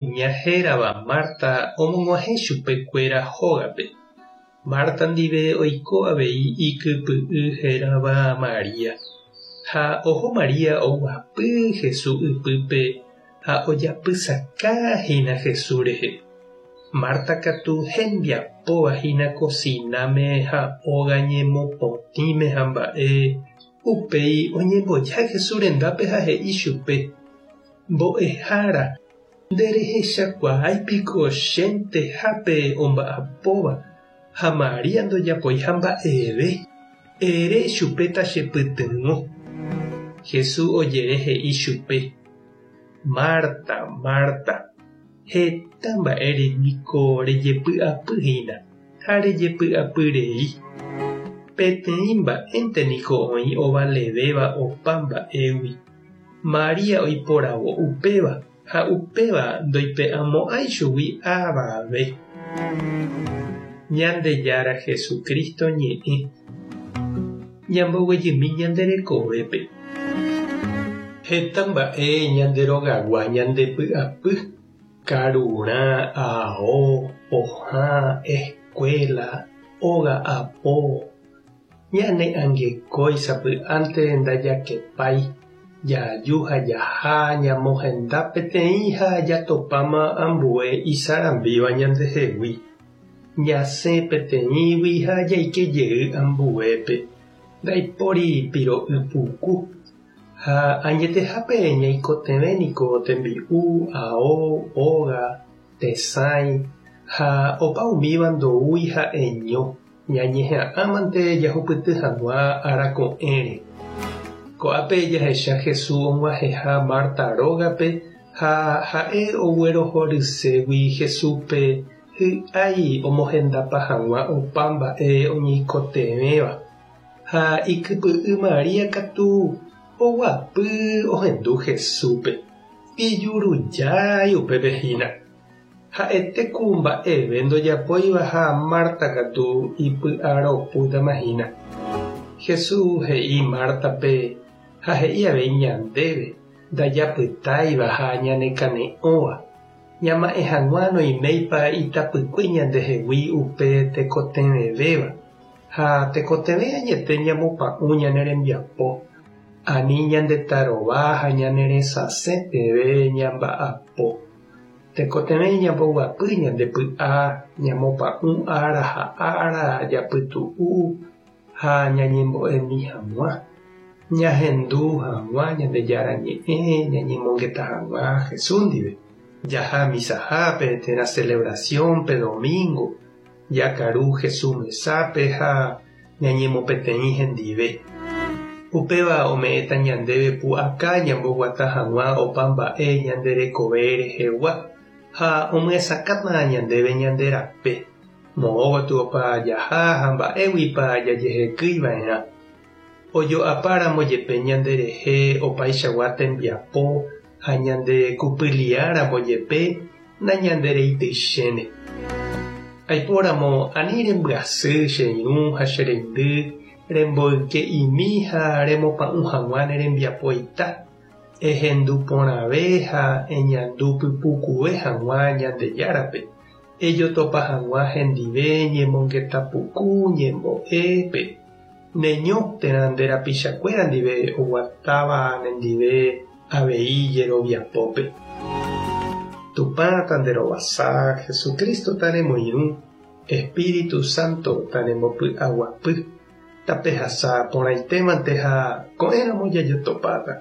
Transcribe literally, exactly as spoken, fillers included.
Kuña hérava Marta omog̃uahẽ chupekuéra hógape. Marta ndive oiko avei ikypy'y hérava Maria. Ha oho Maria oguapy Jesús ypýpe ha ojapysakahína Jesús rehe. Marta katu hembiapovahína kosináme ha óga ñemopotĩme ha mba'e upéi oñemboja Jesús rendápe ha he'i chupe. Mbo'ehára, nderehechakuaáipiko chentehápe omba'apóva ha Maria ndojapoiha mba'eve. Ere chupe tachepytyvõ. Jesús ojere he'i chupe. Marta, Marta, heta mba'ére niko rejepy'apyhína ha rejepy'apyrei. Peteĩ mba'énte niko oĩ ovalevéva opa mba'égui. Maria oiporavo upéva ha upéva ndoipe'amo'ãi chugui avave. Ñandejára Jesucristo ñe'ẽ. Ñamboguejymi ñande rekovépe. Heta mba'e ñande rogagua ñandepy'apy. Karurã, ao, pohã, escuela, óga apo. Ñane angekói sapy'ánte ndajakepái. Jaju ha jaha ñamohenda peteĩ ha jatopáma ambue isarambíva ñandehegui. Ñasẽ peteĩgui ha jaike jey ambuépe. Ndaipóri piro'y puku. Ha añetehápe ñaikotevẽ niko tembi'u, ao, óga, tesãi ha opa umíva ndoúi ha'eño ñañeha'ãmante jahupyty hag̃ua arako'ẽre. Ko'ápe jahecha Jesús og̃uahẽha Marta rógape ha ha'e oguerohorységui Jesúspe hy'ái omohendapa hag̃ua opa mba'e oñeikotevẽva. Ha ikypy'y Maria katu oguapy ohendu Jesúspe. Ijurujái upépe hína. Ha'etéku mba'eve ndojapóiva ha Marta katu ipy'aropútamahína. Jesús he'i Martape ha he'i avei ñandéve ndajapytáiva ha ñanekane'õva. Ñama'ẽ hag̃ua noiméipa itapykue ñandehegui upe tekotevẽvéva ha tekotevẽ añete ñamopa'ũ ñane rembiapo. Ani ñandetarova ha ñaneresasẽ peve ñamba'apo. Tekotevẽ ñamboguapy ñandepy'a ñamopa'ũ ára ha ára japytu'u ha ñañembo'emi hag̃ua. Ñahendu hag̃ua Ñandejára ñe'ẽ ñañemongeta hag̃ua Jesús ndive. Jaha misahápe térã celebraciónpe domingo. Jakaru Jesús mesápe ha ñañemopeteĩ hendive. Upéva ome'ẽta ñandéve pu'aka ñamboguata hag̃ua opa mba'e ñande rekove rehegua ha omyesakãta ñandéve ñande rape. Moõgotyopa jaha ha mba'éguipa jajehekýiva'erã. Ojo'apáramo jepe ñanderehe opaichagua tembiapo ha ñande kupyliáramo jepe nañandereityichéne. Aipóramo ani rembyasy che irũ ha che reindy remboyke'imi ha remopa'ũ hag̃ua ne rembiapoita. Ehendu porãve ha eñandu pypukuve hag̃ua Ñandejárape. Ejotopa hag̃ua hendive ñemongetapuku ñembo'épe. Neño térã nde rapichakuéra ndive oguatáva nendive avei jeroviapópe. Tupã tanderovasa, Jesucristo tanemoirũ, Espíritu Santo tanembopy'aguapy. Tapehasa porãitémante ha ko'ẽramo jajotopáta.